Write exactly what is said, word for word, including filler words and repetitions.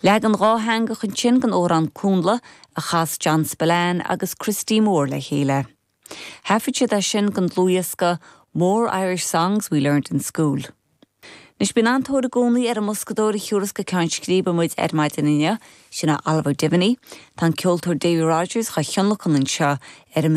Leagan dátheangach ansin den amhrán Cúnla a chas John Spillane agus Christy Moore le chéile. Thaifead siad é sin don dlúthdhiosca More Irish Songs We Learned in School. Anois bíonn an-tóir i gcónaí ar an mboscadóir a thiúrfas go ceann scríbe muid ar maidin inniu sin Oliver Devaney, Tá an ceoltóir Davy Rogers á thionlacan anseo ar an